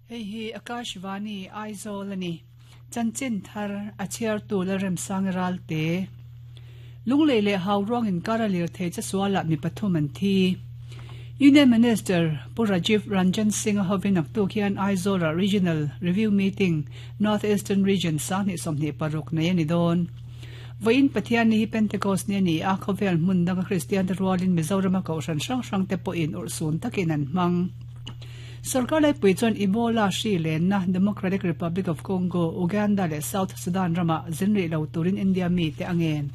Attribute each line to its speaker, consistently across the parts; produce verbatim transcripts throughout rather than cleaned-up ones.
Speaker 1: Hei hi Akashvani Aizawl ani. Chanchin thar a chhiar tu Lalremsang Ralte. Lunglei leh Hauruang inkar a lirthei che sualah mi pathum an thi. Union Minister Pu Rajiv Ranjan Singh a hovin naktuk hian Aizawla Regional Review Meeting North Eastern Region sanghnih sawmhnih paruk nei a ni dawn. Vawiin Pathian ni hi Pentecost ni a ni a, khawvel hmun danga Kristian te rualin Mizorama kohhran hrang hrang te pawhin urhsun takin an hmang. Sorkar laipui chuan Ebola hri lenna Democratic Republic of Congo, Uganda leh South Sudan ramah zin rih lo turin India mite a ngen.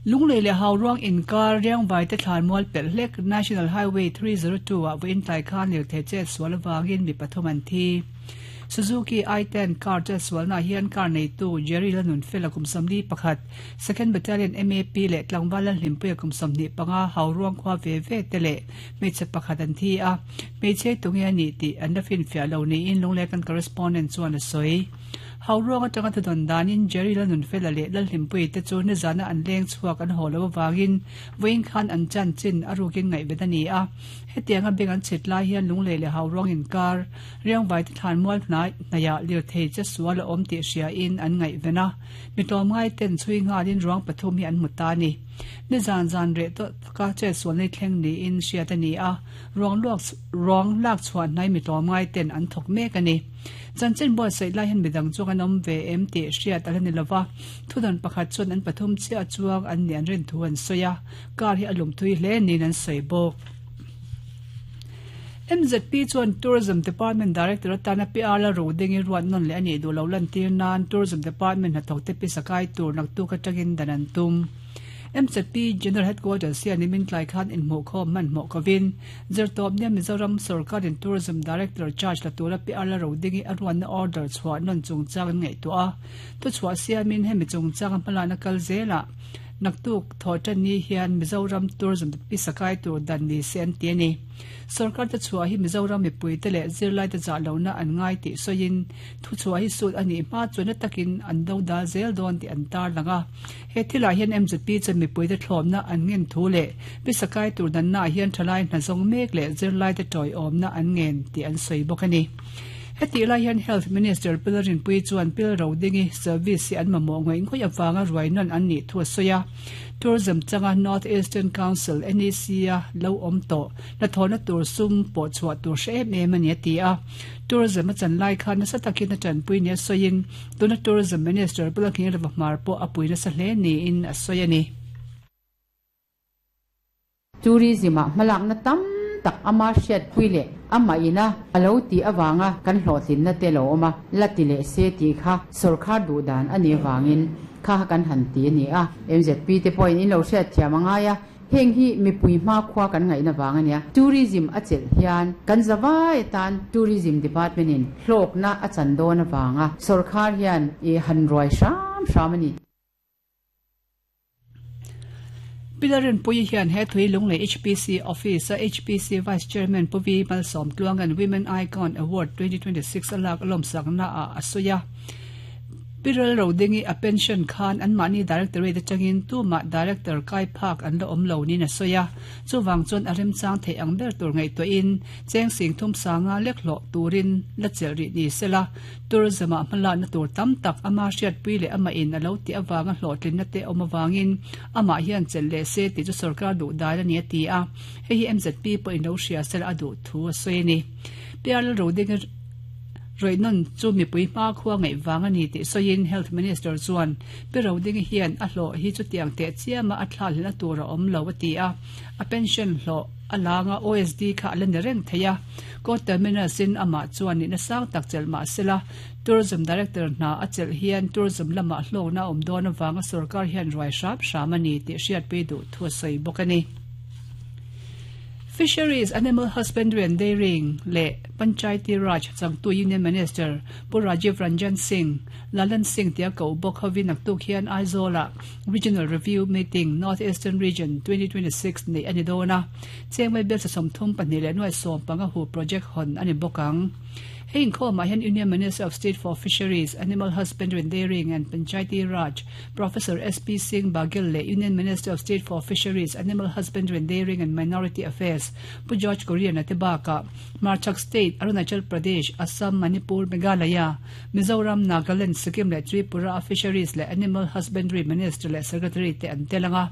Speaker 1: Lunglei leh Hauruang inkar Riangvai te thlanmual pelh hlek National Highway three zero two ah vawiin tlai khan lirthei chet sual avangin mi pathum an thi. Suzuki i ten car chet sualnaah hian car neitu Jerry Lanunfela kum sawmli pakhat, Second Battalion M A P leh tlangval Lalhlimpuia kum sawmhnih panga Hauruang khua ve ve te leh hmeichhe pakhat an thi a, hmeichhe tunge a nih tih an la finfiah lo niin Lunglei kan correspondent chuan a sawi. Hauruang atanga thudawn danin Jerry Lanunfela leh Lalhlimpuii te chu nizana an leng chhuak an haw lo avangin vawiin khan an chanchin a rukin ngaihven a ni a. Hetianga beng an chhit lai hian Lunglei leh Hauruang inkar Riangvai te thlanmual hnai hnaiah lirthei che sual a awm tih hriain an ngaihven a. Mi tlawmngai ten chhui nghalin ruang pathum hi an hmu ta a ni. Nizan zan reh tawh taka che sual nei thleng niin hriat a ni a, ruang luak ruang lak chhuah hnai mi tlawmngai ten an thawk mek a ni. Chanchin buatsaih lai hian midang chuang an awm ve em tih hriat a la ni lova, thudawn pakhat chuan an pathum chiah chuang an nih an rin thu an sawi a, car hi a lum thui hle niin an sawi bawk. M Z P chuan Tourism Department Director atana P R la ro ding i ruat nawn leh a nih duh lo lantir nan Tourism Department hnathawk te pisa kai tur naktuk atangin dan an tum. M Z P General Headquarters hian nimin tlai khan inhmuhkhawm hmanhmawh kovin zirtawp nia Mizoram Sorkarin Tourism Director charge la tura P R la ro ding i a ruatna order chhuah nawn chungchang an ngaihtuah a, thuchhuah siamin hemi chungchang a hmalakna kal zelah naktuk thaw tan ni hian Mizoram Tourism pisa kai tur dan ni se an ti a ni. Sorkar te chhuah hi Mizoram mipui te leh zirlai te zah lohna an ngai tih sawiin thuchhuah hi sut a nih hma chuan na takin an do dal zel dawn tih an tar lang a. He thilah hian M Z P chuan mipui te thlawmna an ngen thu leh pisa kai tur dannaah hian thalai hna zawng mek leh zirlai te tawiawmna an ngen tih an sawi bawk a ni. Hetih lai hian Health Minister Pilarinpui chuan pil ro dingi service hi an mamawh ngawih ngawih avanga ruai nawn an nih thu a sawi a. Tourism changa North Eastern Council, N E C, a lo awm tawh hnathawhna tur sum pawh chhuah tur hre em em a ni a ti a. Tourism a chan lai khan nasa takin a tanpui nia sawiin tuna Tourism Minister Pulakhin Ravahmar pawh a pui nasa hle niin a sawi a ni.
Speaker 2: Tourism ah hmalakna tam tak ama hriatpui leh amah ina a lo tih avanga kan hlawhtlinna te lo awm a, la ti leh se tih kha sorkar duh dan a nih avangin kha kan han ti a ni a. M Z P te pawhin in lo hriat thiam a ngai a, heng hi mipui hma khua kan ngaihna vang a nia. Tourism a chelh hian kan zavai atan Tourism Department in hlawkna a chan dawn avanga sorkar hian i han ruai hram hram a ni.
Speaker 1: Pilarinpui hian he thui Lunglei H P C Office a H P C Vice Chairman Pu Vi Malsawm Tluangan Women Icon Award twenty twenty six a lak lawmsakna ah a sawi a. Piral ro dingi a pension khan anmahni Directorate atangin tumah Director kai phak an la awm lo niin a sawi a. Chuvang chuan a remchang theih ang ber tur ngaihtuahin cheng sing thum sanga lek hlawh turin la chelh rih ni sela Tourism ah hmalakna tur tam tak ama hriatpui leh amah in a lo tih avanga hlawhtlinna te awm avangin amah hian chelh leh se tih chu sorkar duh dan a ni a ti a. Hei hi M Z P pawhin lo hria sela a duh thu a sawi a ni. P R Roding rawihnawn chu mipui hma khua ngaih vang a ni tih sawiin Health Minister chuan Pi Roding hian a hlawh hi chutiang teh chiama a thla hlelna tur a awm lo a ti a. A pension hlawh a langa O S D kha a la ni reng thei a. Court terminus in amah chuan nihna sang tak chelh mah sela Tourism Director hna a chelh hian tourism lamah hlawkna a awm dawn avanga sorkar hian ruai hram hram a ni tih hriatpui duh thu a sawi bawk a ni. Fisheries, Animal Husbandry and Dairying leh Panchayati Raj changtu Union Minister Pu Rajiv Ranjan Singh, Lalan Singh tia koh bawk hovin naktuk hian Aizawlah Regional Review Meeting North Eastern Region twenty twenty six neih a ni dawn a. Chengmai bel sasawm thum pahnih leh nuai sawm panga hu project hawn a ni bawk ang. Hei inkhawmah hian Union Minister of State for Fisheries, Animal Husbandry and Dairying and Panchayati Raj, Professor S P Singh Baghel leh Union Minister of State for Fisheries, Animal Husbandry and Dairying and Minority Affairs, Pu George Kurian-a te bakah Hmarchhak State, Arunachal Pradesh, Assam, Manipur, Meghalaya, Mizoram, Nagaland, Sikkim leh Tripura a Fisheries leh Animal Husbandry Minister leh Secretary te an tel ang a.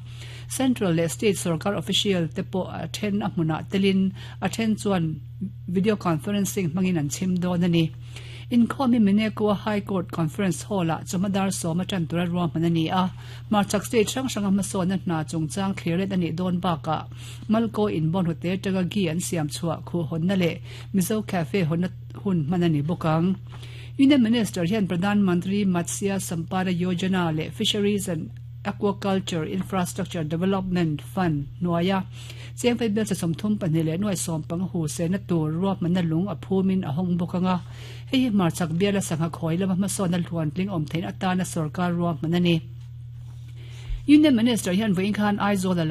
Speaker 1: Central leh State sorkar official te pawh a then a hmunah telin a then chuan video conferencing hmangin an chhim dawn a ni. Inkhawm hi Minekua High Court Conference Hall-ah chawhmadar sawm atan tura ruahman a ni a. Hmarchhak State hrang hranga hmasawnna hna chungchang thlir let a nih dawn bakah Malko inbawn hute atanga ghee an siam chhuah khuh hawnna leh Mizo Cafe hawnna hun hman a ni bawk ang. Union Minister hian Pradhan Mantri Matsya Sampada Yojana leh Fisheries and Aquaculture Infrastructure Development Fund hnuaia chengfei bel cha sawmthum pahnih leh nuai sawm panga hu sehna tur ruahmanna lung a phumin a hawng bawk ang a. Hei hi hmarchhak biala sangha khawi lama hmasawnna hluan tling awm theihna atana sorkar ruahman a ni. Union Minister hian vawiin khan Aizawl a lo